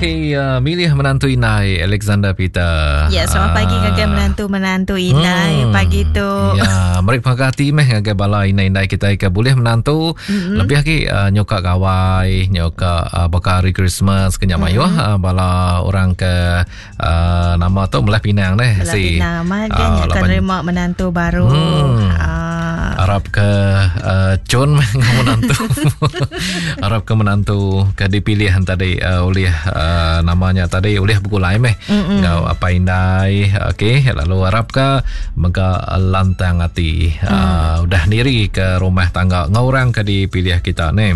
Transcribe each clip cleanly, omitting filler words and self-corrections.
Okey, uh, milih menantu indai Alexander Peter. Ya, selamat pagi Ah. ngagai menantu-menantu indai pagi tu. Ya, meri penghargaan meh ngagai bala indai-indai kita ke boleh menantu mm-hmm. lebih lagi uh, nyoka gawai, nyoka uh, baka hari Christmas ke nya mayuh mm-hmm. uh, bala orang ke uh, nama tu Belah Pinang neh Belah si. Pinang amat kan Ah, uh, laban- nerima menantu baru. Hmm. Ah, Arap ke uh, cun meh ngau menantu. Arap ke menantu ke dipilih tadi uh, oleh uh, namanya tadi oleh begulai meh ngau apai indai okey lalu arap ke mega lantang ati mm. uh, udah niri ke rumah tangga ngau orang ke dipilih kita ni.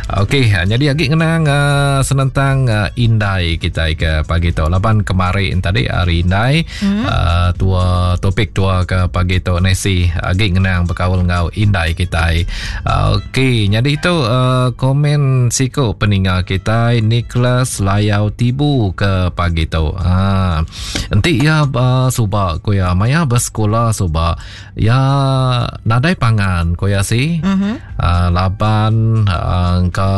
Okey jadi agi ngenang uh, senentang uh, indai kita ke pagi tu laban kemarin tadi hari indai mm. uh, tua topik tua ke pagi tu Nesi agi ngenang berkaul ngau indai kita. Uh, Okey jadi itu uh, komen siku peninga kita Nicholas Layau Tibu ke pagi tu. Ha enti ya uh, suba ku ya maya bersekolah suba ya nadai pangan ku ya si. mhm. Uh, laban uh, engka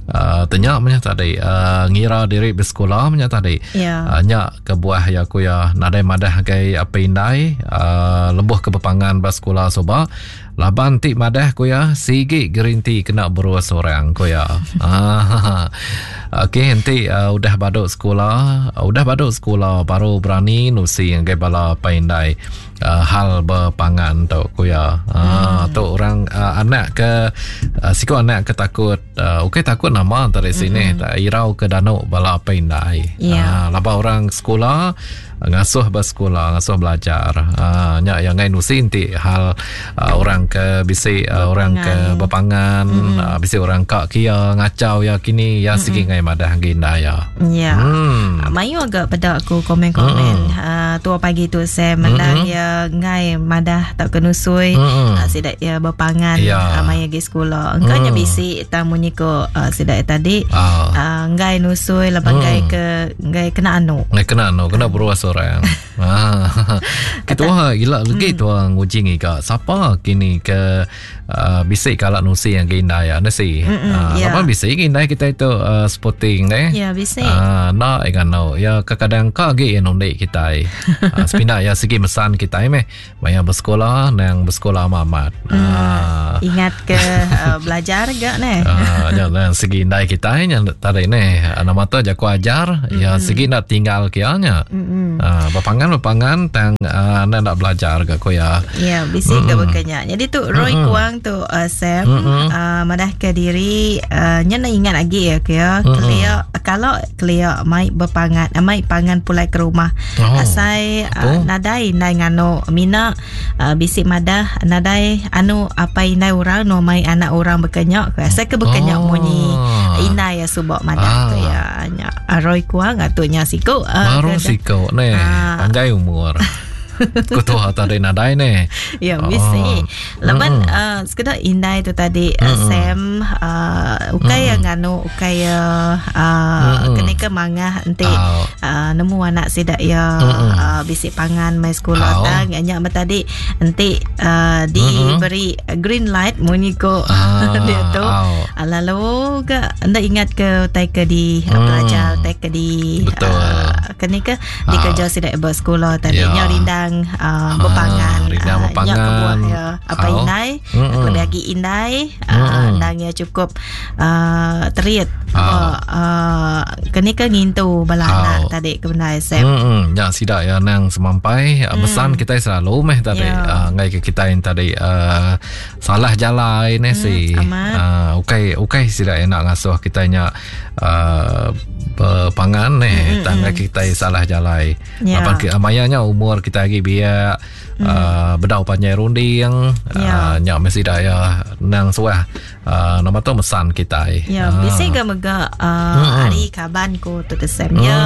uh, tanya menya tadi uh, ngira diri bersekolah menya tadi. Ya. Uh, nya kebuah ya ku ya nadai madah gai apa indai uh, lebuh ke bepangan bersekolah suba laban ti madah ku ya sigi gerinti kena berus orang ku ya. Ah. Okey enti uh, udah baduk sekolah, uh, udah baduk sekolah baru berani nusi ngagai bala apa indai uh, hal berpangan tu ku ya. Ah tu orang uh, anak ke uh, siku anak ke takut uh, okey takut nama dari sini tak irau ke danuk bala apa indai. Ya. Ah, laba orang sekolah ngasuh bersekolah ngasuh belajar. Ah nya yang ngai nusi enti hal uh, orang ke bisi uh, orang ke berpangan uh, bisi orang kak kia ngacau ya kini ya sigi ngai madah ginda ya. Ya. Hmm. Mayu agak pada aku komen-komen uh, tua pagi tu saya menang ya ngai madah tak kenusui Mm-mm. uh, sidak ya berpangan Ya. uh, maya gi sekolah. Engkau nya bisi tamu ko uh, sidak tadi Ah. uh, ngai nusui lepas ngai ke ngai kena anu. Ngai kena no, kena beruas orang. ah. Kita wah gila lagi tu nguji ngiga. Siapa kini ke uh, bisik kalak nusi yang ginda ya nasi. Mm-mm, ya. Apa bisik ginda kita itu uh, sporting ne. Ya bisi. Ah, nak ingat no. Ya kadang ka ge yang nondik kita. Ah, sepindah ya segi mesan kita meh. Maya bersekolah nang bersekolah amat. Ah. Ingat ke uh, belajar gak ne? Ah, nya lah segi indai kita nya tadi ni nama tu jaku ajar ya segi nak tinggal kianya. Ah, berpangan berpangan tang ah, nak nak belajar ke ko ya. Ya, bisi ke berkenya. Jadi tu Roy Kuang tu uh, Sam uh, madah ke diri uh, nya nak ingat lagi ya ke ya. Kelia kalau kelia mai berpangan uh, mai pangan pulai ke rumah. Oh. Asai Apa? uh, nadai indai ngano mina uh, bisi madah nadai anu apa indai orang no mai anak orang berkenyak ke. Asai ke berkenyak Oh. munyi indai ya subak madah Ah. ke ya. Nya uh, Roy Kuang atunya siku uh, Baru ke- siko ni Ah. panjai umur. Ketua tadi nadai ni. Ya, Oh. bisi. Laban uh, sekedar indai tu tadi uh, Sam uh, ukai yang nganu ukai ya uh, kena ke mangah enti Oh. uh, nemu anak sidak ya uh, bisi pangan mai sekolah Oh. tang nya nya tadi enti uh, diberi green light munyi ko Ah, dia tu. oh. Uh, lalu ke anda ingat ke utai ke di uh, pelajar utai ke di Betul. uh, kena ke di Ah. kerja sidak bersekolah tadi Ya. nya rindang uh, berpangan rindang Ah, berpangan. Nyak kebuah ya apa Au. indai Mm-mm. lebih lagi indai uh, ndang ya cukup uh, terit Au. uh, uh, kena ke ngintu bala Au. anak tadi ke benda Sam Hmm, ya sidak ya nang semampai mm. pesan kita selalu meh tadi Ya. uh, ngai ke kita yang tadi uh, salah jalan ni si. amat. Uh, ukai ukai sidak ya nak ngasuh kita nya uh, berpangan ni mm tang ngai kita salah jalan. Ya. Lapan ke mayanya umur kita lagi biak mm. uh, bedau panjai runding Ya. uh, nya mesti dah ya nang suah uh, nama tu mesan kita. Ya, Ah. bisi ga mega uh, hari kaban ko tu te Sam ya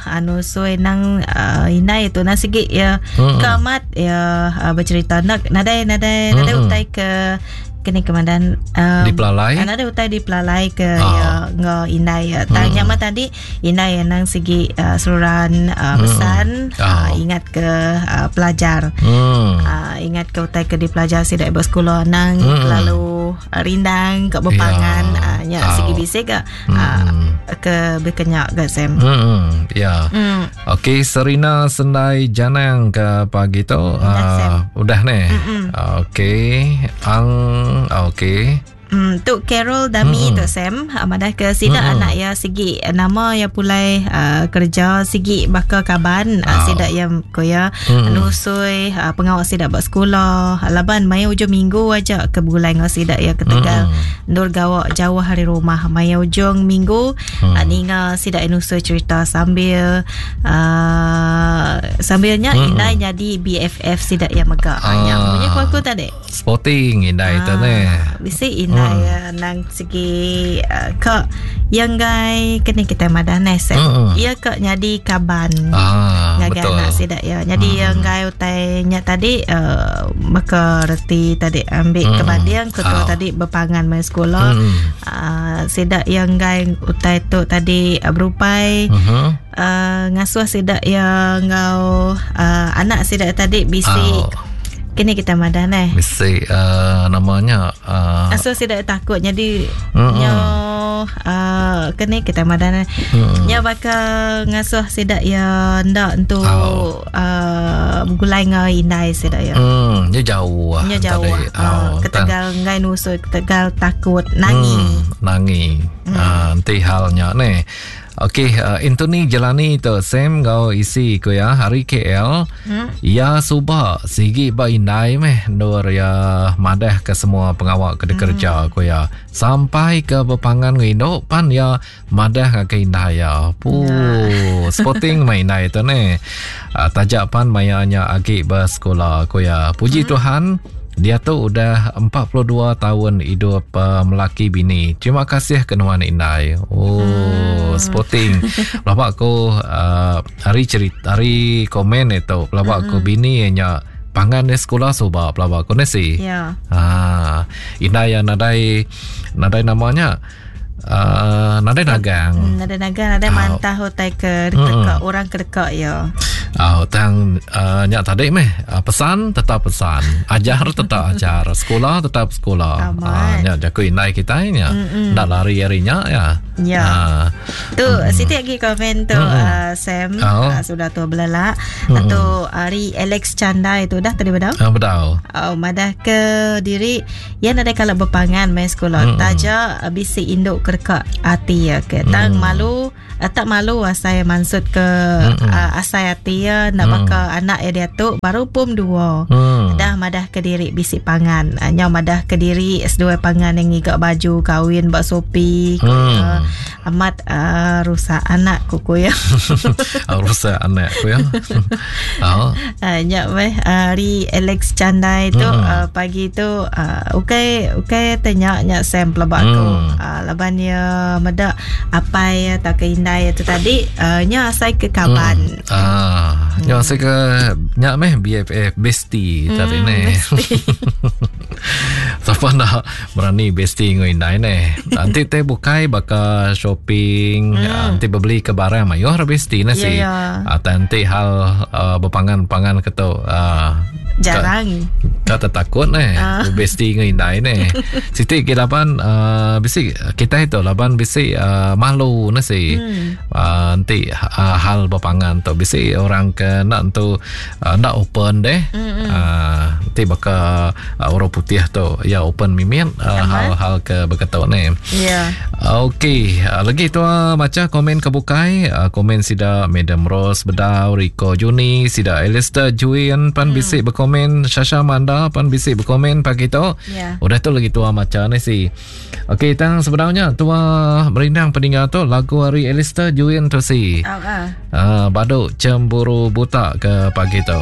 anu sui nang uh, indai tu nang sigi ya kamat ya uh, bercerita nak nadai nadai nadai utai ke kini kemandan um, Di pelalai? Ada utai di pelalai ke Ah. ya ngau indai ya. Tanya mm. tadi indai yang nang segi uh, seluruhan uh, pesan Ah. uh, ingat ke uh, pelajar. Hmm. Uh, ingat ke utai ke di pelajar sidak bersekolah nang Mm. lalu uh, rindang ke berpangan Ya. uh, nya Ah. segi bisik ke uh, Hmm. ke bekenya ga Sam. Ya. Okey Serina Sendai Janang ke pagi tu udah ne. Okey ang okey. Tu Carol Dami tu Sam madah ke sida anak ya sigi nama ya pulai kerja sigi baka kaban sida ya ko ya nusui pengawa sida ba sekula laban maya ujung minggu aja ke begulai enggau sida ya ketegal endur gawa jauh ari rumah maya ujung minggu ninga sida ya nusui cerita sambil sambil nya indai nyadi BFF sida ya mega. Nya munyi ku aku tadi. Sporting indai tu ne. Bisi indai nang segi ka yang gai kena kita madah ne Sam. Ia ka nyadi kaban. Ngagai anak sida ya. Nyadi yang gai utai nya tadi baka reti tadi ambil ke banding ke tua tadi berpangan mai sekolah. Sida yang gai utai tu tadi berupai ngasuh sida ya ngau anak sida tadi bisi kini kita madah neh bisi namanya asuh sida takut jadi nyo kini kita madah neh nyo baka ngasuh sida ya ndak entu begulai ngau indai sida ya nyo jauh nyo jauh ketegal ngai nusui ketegal takut nangi nangi enti halnya neh. Okey, Anthony Jelani tu Sam ngau isi ku ya hari KL. Ya suba sigi ba indai meh endur ya madah ke semua pengawa ke dikerja ku ya. Sampai ke bepangan ngau indu pan ya madah ngagai indai ya. Puh, sporting meh indai tu neh. Taja pan maya nya agi besekula ku ya. Puji Tuhan diatu udah 42 tahun hidup melaki bini. Terima kasih ke nuan indai. Oh, sporting. Pelaba aku hari cerita, hari komen itu, pelaba aku bini nya pangan di sekolah suba pelaba aku ni si. Ya. Indai yang nadai nadai namanya nadai nagang. Nadai nagang, nadai mantah utai ke deka orang ke deka ya. Tang nya tadi meh pesan tetap pesan, ajar tetap ajar, sekolah tetap sekolah. Nya jaku indai kita nya. Ndak lari hari nya ya. Ya. Tu siti lagi komen tu Sam sudah tu belelak. Tu hari Alex Chandai tu dah tadi bedau. Bedau. Madah ke diri ya nadai kalau berpangan main sekolah. Taja bisi induk kerka ati ya ke. Tang malu tak malu asai maksud ke asai ati ya nak baka anak ya dia tu baru pum 2. Dah madah ke diri bisi pangan. Nyau madah ke diri seduai pangan yang ngiga baju kawin bak Shopee. Amat rusak anak ku ya. Rusak anak ku ya. Nya meh hari Alex Chandai tu pagi tu ukai ukai tanya nya Sam pelaba aku. Laban ya meda apai atau ke indai tu tadi nya asai ke kaban. Nya asai ke nya meh BFF bestie tadi ne. Siapa nak berani bestie ngau indai ne. Nanti te bukai baka shopping, nanti beli ke barang mayuh ra bestie ne si. Nanti hal berpangan-pangan ke tu jarang. Kata takut ne bestie ngau indai ne. Siti ke laban bisi kita itu laban bisi malu ne si. Nanti hal berpangan tu bisi orang ke nak tu nak open deh. Nanti baka orang putih tu ya open mimit hal-hal ke berketuk ni. Ya. Okey, lagi tu baca komen ke bukai, komen sida Madam Rose Bedau, Rico Juni, sida Alistair Juin pan bisi berkomen, Shasha Manda pan bisi berkomen pagi tu. Yeah. Udah tu lagi tua maca ni si. Okey, tang sebenarnya tua merindang peninggal tu lagu hari Alistair Juin tu si. Baduk cemburu buta ke pagi tu.